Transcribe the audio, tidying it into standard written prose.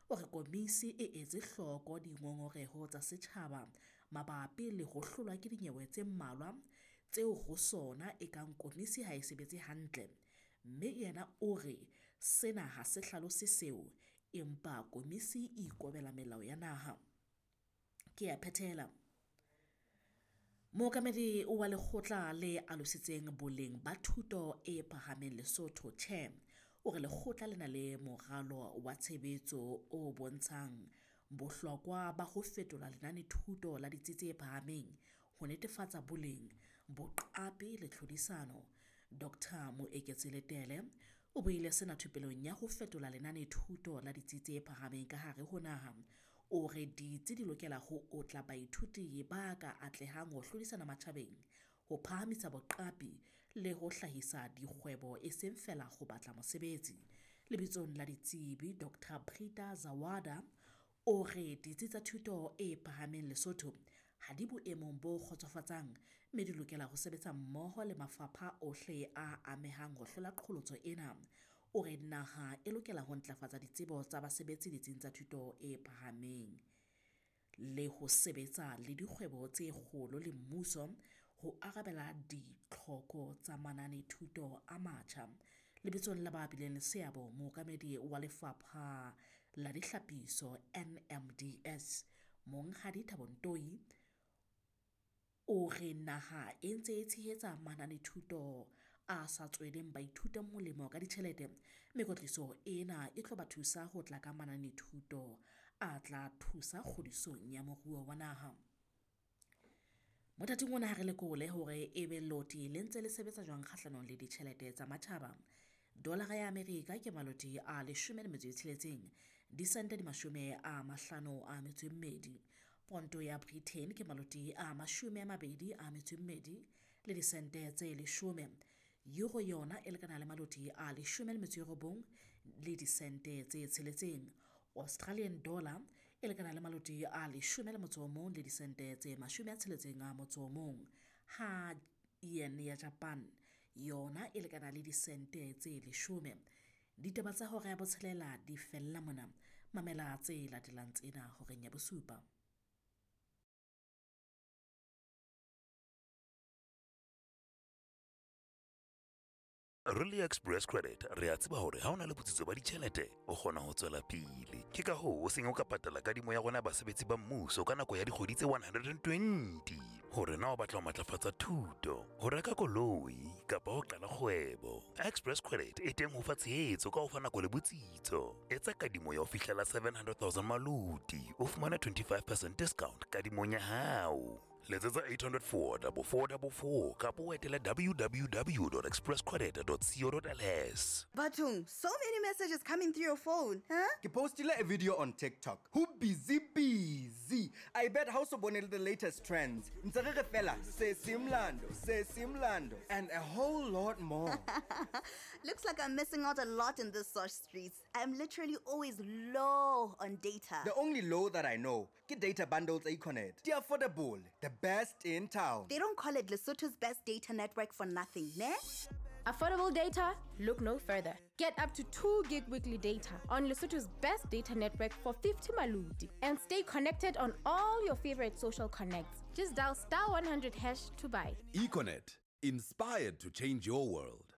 O re komisi e etse hloko dingongoreho tsa setjhaba mabapi le ho hlolwa ke dinyewe tse mmalwa tseo ho sona e kang komisi ha e sebetse hantle, mme yena o re sena ha se hlalose seo, empa komisi e ikobela melao ya naha. Ke a phethela. Mookamedi wa lekgotla le alositseng boleng ba thuto e phahameng Lesotho CHEO o re lekgotla le na le moralo wa tshebetso o bontshang bohlokwa ba ho fetola lenanethuto la ditsi tse phahameng ho netefatsa boleng, boqapi le tlhodisano. Dr Moeketsi Letele o buile sena thupelong ya ho fetola lenanethuto la ditsi tse phahameng ka hare ho naha. O re ditsi di lokela ho otla baithuti ba ka atlehang ho hlodisana matjhabeng, ho phahamisa boqapi le ho hlahisa dikgwebo e seng feela ho batla mosebetsi. Lebitsong la ditsebi Dr Prita Zawada o re ditsi tsa thuto e phahameng Lesotho ha di boemong bo kgotsofatsang mme di lokela ho sebetsa mmoho le mafapha ohle a amehang ho hlola qholotso ena. O re naha e lokela ho ntlafatsa ditsebo tsa basebetsi ditsing tsa thuto e phahameng le ho sebetsa le dikgwebo tse kgolo le mmuso ho arabela ditlhoko tsa mananethuto a matjha. Lebitsong la ba bileng le seabo, mookamedi wa lefapha la dihlapiso NMDS, Monghadi Thabo Ntoi, o re naha e ntse e tshehetsa mananethuto a sa tsweleng baithuti molemo ka ditjhelete, mme kwetliso ena e tlo ba thusa ho tla ka mananethuto a tla thusa kgodisong ya moruo wa naha. Mothating ona ha re lekole hore ebe loti le ntse le sebetsa jwang kgahlanong le ditjhelete tsa matjhaba. Dolara ya Amerika ke maloti a 16 disente di 52. Ponto ya Britain ke maloti a 22 le disente tse 10. Euro yona e lekana le maloti a 19 le disente tse 6. Australian dollar e lekana le maloti a 11 le disente tse 61. Ha yen ya Japan yona e lekana le disente tse 10. Ditaba tsa hora ya botshelela di fella mona. Mamela tse latelang tsena horeng ya bosupa. Re le Express Credit re a tseba hore ha o na le botsitso ba ditjhelete o kgona ho tswela pele. Ke ka hoo o seng o ka patala kadimo ya rona basebetsi ba mmuso ka nako ya dikgwedi tse 120. Hore na o batla ho matlafatsa thuto, ho reka koloi kapa ho qala kgwebo. Express Credit e teng ho fa tshehetso ka ho fa nako le botsitso. Etsa kadimo ya ho fihlela 700,000 maloti, o fumane 25% discount kadimong ya hao. Letsetsa 804 4444 kapa o etele www.expresscredit.co.ls. Batung, so many messages coming through your phone, huh? Ke postile a video on TikTok. Who busy busy. I bet ha o so bone the latest trends. Ntse re re fela se simlando, se simlando and a whole lot more. Looks like I'm missing out a lot in the source streets. I'm literally always low on data. The only low that I know, ke data bundles Econet. Di affordable, the best in town. They don't call it Lesotho's best data network for nothing, ne? Affordable data? Look no further. Get up to 2 gig weekly data on Lesotho's best data network for 50 maluti and stay connected on all your favorite social connects. Just dial *100# to buy. Econet, inspired to change your world.